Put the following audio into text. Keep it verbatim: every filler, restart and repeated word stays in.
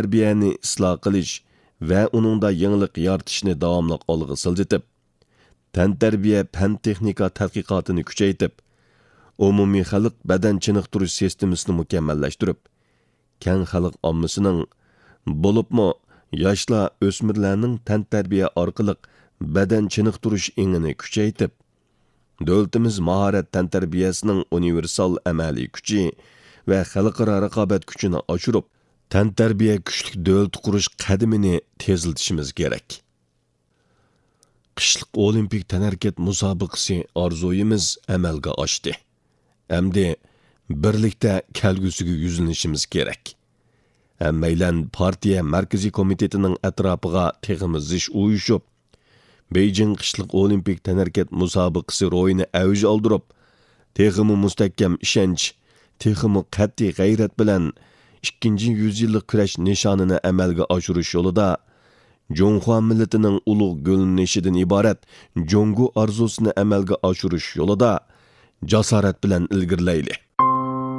تەنتەربىيەنى ئىسلاھ قىلىش ۋە ئۇنىڭدا يېڭىلىق يارىتىشنى داۋاملىق ئالغا سىلجىتىپ، تەنتەربىيە پەن-تېخنىكا تەتقىقاتىنى كۈچەيتىپ، ئومۇمىي خەلق بەدەن چېنىقتۇرۇش سىستېمىسىنى مۇكەممەللەشتۈرۈپ، كەڭ خەلق ئاممىسىنىڭ، بولۇپمۇ ياشلار، ئۆسمۈرلەرنىڭ تەنتەربىيە ئارقىلىق بەدەن چېنىقتۇرۇش ئېڭىنى كۈچەيتىپ، دۆلىتىمىز ماھارەت تەنتەربىيەسىنىڭ ئۇنىۋېرسال ئەمەلىي كۈچى ۋە خەلقئارا رىقابەت كۈچىنى ئاشۇرۇپ، تەنتەربىيە كۈچلۈك دۆلىتى قۇرۇش قەدىمىنى تېزلىتىشىمىز كېرەك. قىشلىق ئولىمپىك تەنھەرىكەت مۇسابىقىسى ئارزۇيىمىز ئەمەلگە ئاشتى. ئەمدى بىرلىكتە كەلگۈسىگە يۈزلىنىشىمىز كېرەك. ھەممەيلەن پارتىيە مەركىزىي كومىتېتىنىڭ ئەتراپىغا تېخىمۇ زىچ ئۇيۇشۇپ، بېيجىڭ قىشلىق ئولىمپىك تەنھەرىكەت مۇسابىقىسى روھىنى ئەۋج ئالدۇرۇپ، تېخىمۇ مۇستەھكەم ئىشەنچ، تېخىمۇ قەتئىي غەيرەت بىلەن ئىككىنچى يۈز يىللىق كۈرەش نىشانىنى ئەمەلگە ئاشۇرۇش يولىدا، جۇڭخۇا مىللىتىنىڭ ئۇلۇغ گۈللىنىشىدىن ئىبارەت جۇڭگو ئارزۇسىنى ئەمەلگە ئاشۇرۇش يولىدا جاسارەت بىلەن ئىلگىرىلەيلى.